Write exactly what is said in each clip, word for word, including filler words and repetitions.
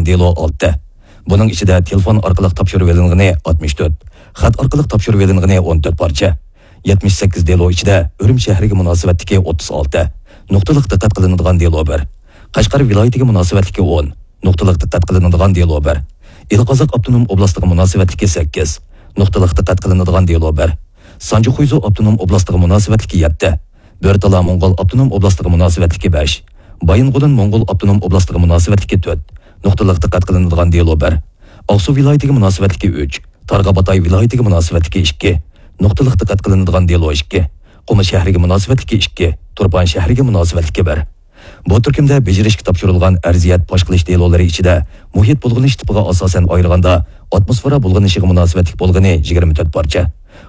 دېلو ئالتە. بۇنىڭ ئىچىدە تېلېفون ئارقىلىق تاپشۇرۇۋېلىنغىنى ئاتمىش تۆت، خەت ئارقىلىق تاپشۇرۇۋېلىنغىنى ئون تۆت پارچە. يەتمىش سەككىز دېلو ئىچىدە ئۈرۈمچى شەھىرىگە مۇناسىۋەتلىكى ئوتتۇز ئالتە، نۇقتىلىق دىققەت قىلىنىدىغان دېلو بىر. قەشقەر ۋىلايىتىگە مۇناسىۋەتلىكى ئون، نۇقتىلىق دىققەت قىلىنىدىغان دېلو بىر. ئىلى قازاق ئاپتونوم ئوبلاستىغا مۇناسىۋەتلىكى سەككىز، نۇقتىلىق دىققەت قىلىنىدىغان دېلو بىر. سانجى خۇيزۇ ئاپتونوم ئوبلاستىغا مۇناسىۋەتلىكى يەتتە، بۆرتالا موڭغۇل ئاپتونوم ئوبلاستىغا مۇناسىۋەتلىكى بەش، بايىنغولىن موڭغۇل ئاپتونوم ئوبلاستىغا مۇناسىۋەتلىكى تۆت، نۇقتىلىق دىققەت قىلىنىدىغان دېلو بىر. ئاقسۇ ۋىلايىتىگە مۇناسىۋەتلىكى ئۈچ، تارباغاتاي ۋىلايىتىگە مۇناسىۋەتلىكى ئىككى، نۇقتىلىق دىققەت قىلىنىدىغان دېلو ئىككى، قۇمۇل شەھىرىگە مۇناسىۋەتلىكى ئىككى، تۇرپان شەھىرىگە مۇناسىۋەتلىكى بىر. بۇ تۈركۈمدە بېجىرىشكە تاپشۇرۇلغان ئەرزىيەت پاش قىلىش دېلولىرى ئىچىدە مۇھىت بۇلغىنىش تىپىغا ئاساسەن ئايرىغاندا، ئاتموسفېرا بۇلغىنىشىغا مۇناسىۋەتلىك بولغىنى يىگىرمە تۆت پارچە،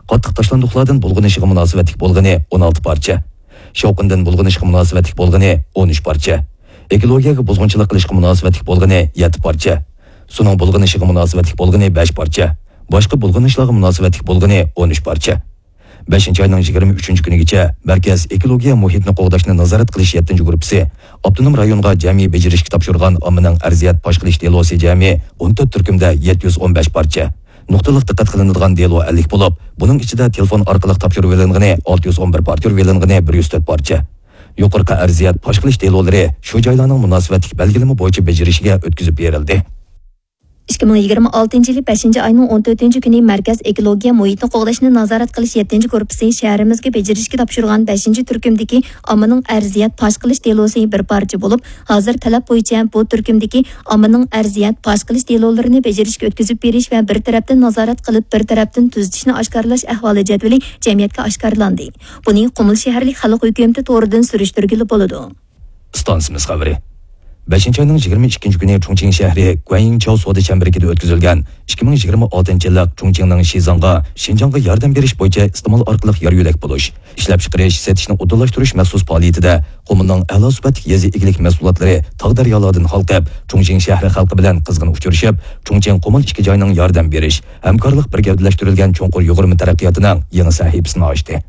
قاتتىق تاشلاندۇقلاردىن بۇلغىنىشىغا مۇناسىۋەتلىك بولغىنى ئون ئالتە پارچە، شاۋقۇندىن بۇلغىنىشقا مۇناسىۋەتلىك بولغىنى ئون ئۈچ پارچە، ئېكولوگىيەگە بۇزغۇنچىلىق قىلىشقا مۇناسىۋەتلىك بولغىنى يەتتە پارچە، سۇنىڭ بۇلغىنىشىغا مۇناسىۋەتلىك بولغىنى بەش پارچە، باشقا بۇلغىنىشلارغا مۇناسىۋەتلىك بولغىنى ئون ئۈچ پارچە. بەشىنچى ئاينىڭ يىگىرمە ئۈچىنچى كۈنىگىچە مەركەز ئېكولوگىيە مۇھىتنى قوغداشنى نازارەت قىلىش يەتتىنچى گۇرۇپپىسى ئاپتونوم رايونغا جەمئىي بېجىرىشكە تاپشۇرغان ئاممىنىڭ ئەرزىيەت پاش قىلىش دېلوسى جەمئىي ئون تۆت تۈركۈمدە يەتتە يۈز ئون بەش پارچە، نۇقتىلىق دىققەت قىلىنىدىغان دېلو ئەللىك بولۇپ، بۇنىڭ ئىچىدە تېلېفون ئارقىلىق تاپشۇرۇۋېلىنغىنى ئالتە يۈز ئون بىر پارچە، تاپشۇرۇۋېلىنغىنى بىر يۈز تۆت پارچە. يۇقىرىقى ئەرزىيەت پاش قىلىش دېلولىرى شۇ جايلارنىڭ مۇناسىۋەتلىك بەلگىلىمە بويىچە بېجىرىشىگە ئۆتكۈزۈپ بېرىلدى. ئىككى مىڭ يىگىرمە ئالتىنچى يىلى بەشىنچى ئاينىڭ ئون تۆتىنچى كۈنى مەركەز ئېكولوگىيە مۇھىتنى قوغداشنى نازارەت قىلىش يەتتىنچى گۇرۇپپىسى شەھىرىمىزگە بېجىرىشكە تاپشۇرغان بەشىنچى تۈركۈمدىكى ئاممىنىڭ ئەرزىيەت پاش قىلىش دېلوسى بىر پارچە بولۇپ، ھازىر تەلەپ بويىچە بۇ تۈركۈمدىكى ئاممىنىڭ ئەرزىيەت پاش قىلىش دېلولىرىنى بېجىرىشكە ئۆتكۈزۈپ بېرىش ۋە بىر تەرەپتىن نازارەت قىلىپ، بىر تەرەپتىن تۈزىتىشنى ئاشكارىلاش ئەھۋالى جەدۋىلى جەمئىيەتكە ئاشكارىلاندى. بۇنى قۇمۇل شەھەرلىك خەلق ھۆكۈمىتى تورىدىن سۈرۈشتۈرگىلى بولىدۇ. ئىستانسىمىز خەۋىرى. بەشىنچى ئاينىڭ يىگىرمە ئىككىنچى كۈنى چۇڭچىڭ شەھىرى گۇەنيىڭچاۋ سودا چەمبىرىكىدە ئۆتكۈزۈلگەن ئىككى مىڭ يىگىرمە ئالتىنچى يىللىق چۇڭچىڭنىڭ شىزاڭغا، شىنجاڭغا ياردەم بېرىش بويىچە ئىستېمال ئارقىلىق يار يۆلەك بولۇش، ئىشلەپچىقىرىش، سېتىشنى ئۇدۇللاشتۇرۇش مەخسۇس پائالىيىتىدە قۇمۇلنىڭ ئەلا سۈپەتلىك يېزا ئىگىلىك مەھسۇلاتلىرى تاغ دەريالاردىن ھالقىپ، چۇڭچىڭ شەھىرى خەلقى بىلەن قىزغىن ئۇچرىشىپ، چۇڭچىڭ قۇمۇل ئىككى جاينىڭ ياردەم بېرىش، ھەمكارلىق بىر گەۋدىلەشتۈرۈلگەن چوڭقۇر يۇغۇرما تەرەققىياتىنىڭ يېڭى سەھىپىسىنى ئاچتى.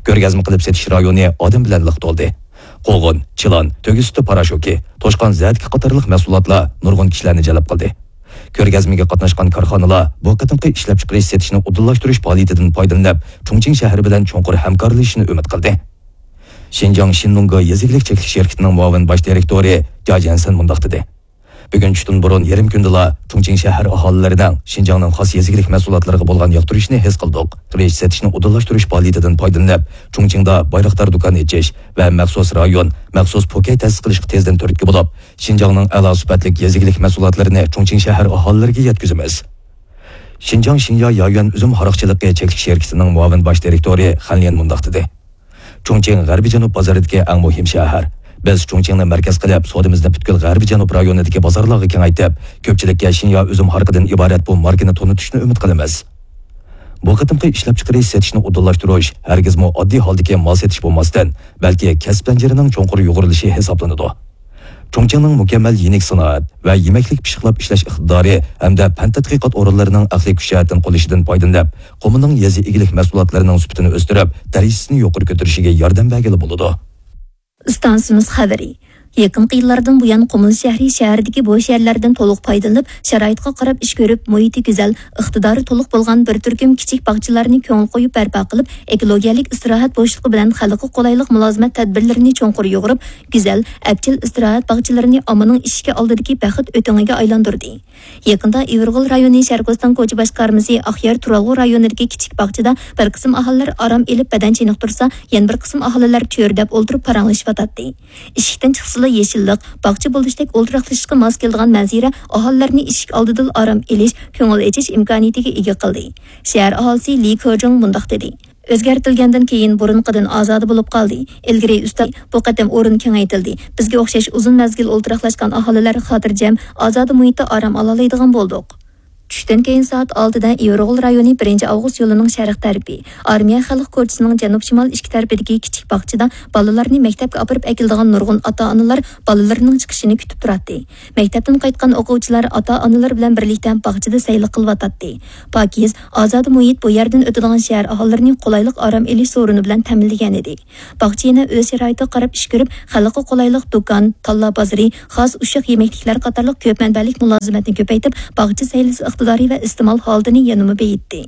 كۆرگەزمە قىلىپ سېتىش رايونى ئادەم بىلەن لىق تولدى. قوغۇن، چىلان، تۆگە سۈتى پاراشوكى، توشقان زەتىكى قاتارلىق مەھسۇلاتلار نۇرغۇن كىشىلەرنى جەلپ قىلدى. كۆرگەزمىگە قاتناشقان كارخانىلار بۇ قېتىمقى ئىشلەپچىقىرىش سېتىشنى ئۇدۇللاشتۇرۇش پائالىيىتىدىن پايدىلىنىپ، چۇڭچىڭ شەھىرى بىلەن چوڭقۇر ھەمكارلىشىشنى ئۈمىد قىلدى. شىنجاڭ شىنلۇڭگو يېزا ئىگىلىك چەكلىك شىركىتىنىڭ مۇئاۋىن باش دىرېكتورى جيا جيەنسەن مۇنداق دېدى. بۈگۈن چۈشتىن بۇرۇن يېرىم كۈندىلا چۇڭچىڭ شەھەر ئاھالىلىرىنىڭ شىنجاڭنىڭ خاس يېزا ئىگىلىك مەھسۇلاتلىرىغا بولغان ياقتۇرۇشىنى ھېس قىلدۇق. قىرىش سېتىشنى ئۇدۇللاشتۇرۇش پائالىيىتىدىن پايدىلىنىپ، چۇڭچىڭدا بايراقدار دۇكان ئېچىش ۋە مەخسۇس رايون، مەخسۇس پوكەي تەسىس قىلىشقا تېزدىن تۈرتكە بولۇپ، شىنجاڭنىڭ ئەلا سۈپەتلىك يېزا ئىگىلىك مەھسۇلاتلىرىنى چۇڭچىڭ شەھەر ئاھالىلىرىگە يەتكۈزىمىز. شىنجاڭ شىنيا يايۈەن ئۈزۈم ھاراق چىلىقى چەكلىك شىركىتىنىڭ مۇئاۋىن باش دىرېكتورى خەن ليەن مۇنداق دېدى. چۇڭچىڭ غەربىي جەنۇب بازىرىدىكى ئەڭ مۇھىم شەھەر. بىز چۇڭچىڭنى مەركەز قىلىپ، سودىمىزنى پۈتكۈل غەربىي جەنۇب رايونىدىكى بازارلارغا كېڭەيتىپ، كۆپچىلىككە شىنيا ئۈزۈم ھارىقىدىن ئىبارەت بۇ ماركىنى تونۇتۇشنى ئۈمىد قىلىمىز. بۇ قېتىمقى ئىشلەپچىقىرىش سېتىشنى ئۇدۇللاشتۇرۇش ھەرگىزمۇ ئاددىي ھالدىكى مال سېتىش بولماستىن، بەلكى كەسىپ زەنجىرىنىڭ چوڭقۇر يۇغۇرۇلۇشى ھېسابلىنىدۇ. چۇڭچىڭنىڭ مۇكەممەل يېنىك سانائەت ۋە يېمەكلىك پىششىقلاپ ئىشلەش ئىقتىدارى ھەمدە پەن تەتقىقات ئورۇنلىرىنىڭ ئەقلىي كۈچ جەھەتتىن قوللىشىدىن پايدىلىنىپ، قۇمۇلنىڭ يېزا ئىگىلىك مەھسۇلاتلىرىنىڭ سۈپىتىنى ئۆستۈرۈپ، دەرىجىسىنى يۇقىرى كۆتۈرۈشىگە ياردەم بەرگىلى بولىدۇ. ئىستانسىمىز خەۋىرى. يېقىنقى يىللاردىن بۇيان، قۇمۇل شەھىرى شەھەردىكى بوش يەرلەردىن تولۇق پايدىلىنىپ، شارائىتقا قاراپ ئىش كۆرۈپ، مۇھىتى گۈزەل، ئىقتىدارى تولۇق بولغان بىر تۈركۈم كىچىك باغچىلارنى كۆڭۈل قويۇپ بەرپا قىلىپ، ئېكولوگىيەلىك ئىستىراھەت بوشلۇقى بىلەن خەلققە قولايلىق مۇلازىمەت تەدبىرلىرىنى چوڭقۇر يۇغۇرۇپ، گۈزەل، ئەپچىل ئىستىراھەت باغچىلىرىنى ئاممىنىڭ ئىشىكى ئالدىدىكى بەخت ئۆتۈڭىگە ئايلاندۇردى. يېقىندا ئىۋىرغول رايونى شەرقىستان كوچا باشقارمىسى ئاقيار تۇرالغۇ رايونىدىكى كىچىك باغچىدا بىر قىسىم ئاھالىلەر ئارام ئېلىپ بەدەن چېنىقتۇرسا، يەنە بىر قىسىم ئاھالىلەر چۆرىدەپ ئولتۇرۇپ پاراڭلىشىۋاتاتتى. ئىشىكتىن چىقسىلا يېشىللىق، باغچە بولۇشتەك ئولتۇراقلىشىشقا ماس كېلىدىغان مەنزىرە ئاھالىلەرنى ئىشىك ئالدىدىلا ئارام ئېلىش، كۆڭۈل ئېچىش ئىمكانىيىتىگە ئىگە قىلدى. شەھەر ئاھالىسى لى كېجۇڭ مۇنداق دېدى. ئۆزگەرتىلگەندىن كېيىن بۇرۇنقىدىن ئازادە بولۇپ قالدى. ئىلگىرى ئۈستەل، بۇ قېتىم ئورۇن كېڭەيتىلدى. بىزگە ئوخشاش ئۇزۇن مەزگىل ئولتۇراقلاشقان ئاھالىلەر خاتىرجەم، ئازادە مۇھىتتا ئارام ئالالايدىغان بولدۇق. چۈشتىن كېيىن سائەت ئالتىدە ئىۋىرغول رايونى بىرىنچى ئاۋغۇست يولىنىڭ شەرق تەرىپى، ئارمىيە خەلق كوچىسىنىڭ جەنۇب-شىمال ئىككى تەرىپىدىكى كىچىك باغچىدا بالىلارنى مەكتەپكە ئاپىرىپ ئەكېلىدىغان نۇرغۇن ئاتا-ئانىلار بالىلىرىنىڭ چىقىشىنى كۈتۈپ تۇراتتى. مەكتەپتىن قايتقان ئوقۇۋچىلار ئاتا-ئانىلىرى بىلەن بىرلىكتە باغچىدا سەيلە قىلىۋاتاتتى. پاكىز، ئازادە مۇھىت بۇ يەردىن ئۆتىدىغان شەھەر ئاھالىلىرىنى قولايلىق ئارام ئېلىش سورۇنى بىلەن تەمىنلىگەن ئىدى. باغچە يەنە ئۆز شارائىتىغا قاراپ ئىش كۆرۈپ، خەلققە قولايلىق دۇكان، تاللا بازىرى، خاس ئۇششاق يېمەكلىكلەر قاتارلىق كۆپ مەنبەلىك مۇلازىمەتنى كۆپەيتىپ، باغچە سەيلىسى ئىقتىدارى ۋە ئىستېمال ھالىتىنى يەنىمۇ بېيىتتى.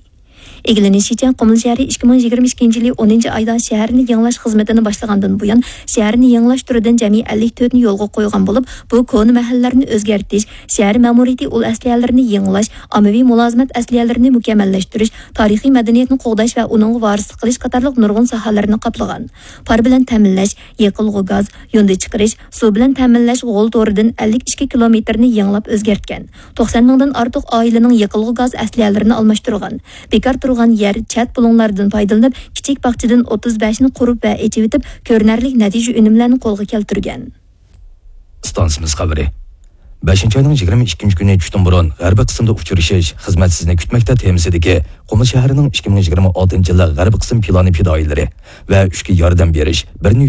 ئىگىلىنىشىچە، قۇمۇل شەھىرى ئىككى مىڭ يىگىرمە ئىككىنچى يىلى ئونىنچى ئايدا شەھەرنى يېڭىلاش خىزمىتىنى باشلىغاندىن بۇيان، شەھەرنى يېڭىلاش تۈرىدىن جەمئىي ئەللىك تۆتنى يولغا قويغان بولۇپ، بۇ كونا مەھەللىلەرنى ئۆزگەرتىش، شەھەر مەمۇرىيىتى ئۇل ئەسلىھەلىرىنى يېڭىلاش، ئاممىۋى مۇلازىمەت ئەسلىھەلىرىنى مۇكەممەللەشتۈرۈش، تارىخىي مەدەنىيەتنى قوغداش ۋە ئۇنىڭغا ۋارىسلىق قىلىش قاتارلىق نۇرغۇن ساھەلەرنى قاپلىغان. پار بىلەن تەمىنلەش، يېقىلغۇ گاز، يۇندى چىقىرىش، سۇ بىلەن تەمىنلەش غول تورىدىن ئەللىك ئىككى كىلومېتىرنى يېڭىلاپ ئۆزگەرتكەن. توقسان مىڭدىن ئارتۇق ئائىلىنىڭ يېقىلغۇ گاز ئەسلىھەلىرىنى ئالماشتۇرغان. بىكار تۇرغان يەر، چەت بۇلۇڭلاردىن پايدىلىنىپ، كىچىك باغچىدىن ئوتتۇز بەشنى قۇرۇپ ۋە ئېچىۋېتىپ، كۆرۈنەرلىك نەتىجە ئۈنۈملەرنى قولغا كەلتۈرگەن. ئىستانسىمىز خەۋىرى. بەشىنچى ئاينىڭ يىگىرمە ئىككىنچى كۈنى چۈشتىن بۇرۇن غەربىي قىسىمدا ئۇچرىشىش، خىزمەت سىزنى كۈتمەكتە تېمىسىدىكى قۇمۇل شەھىرىنىڭ ئىككى مىڭ يىگىرمە ئالتىنچى يىللىق غەربىي قىسىم پىلانى پىدائىيلىرى ۋە ئۈچكە ياردەم بېرىش، بىرنى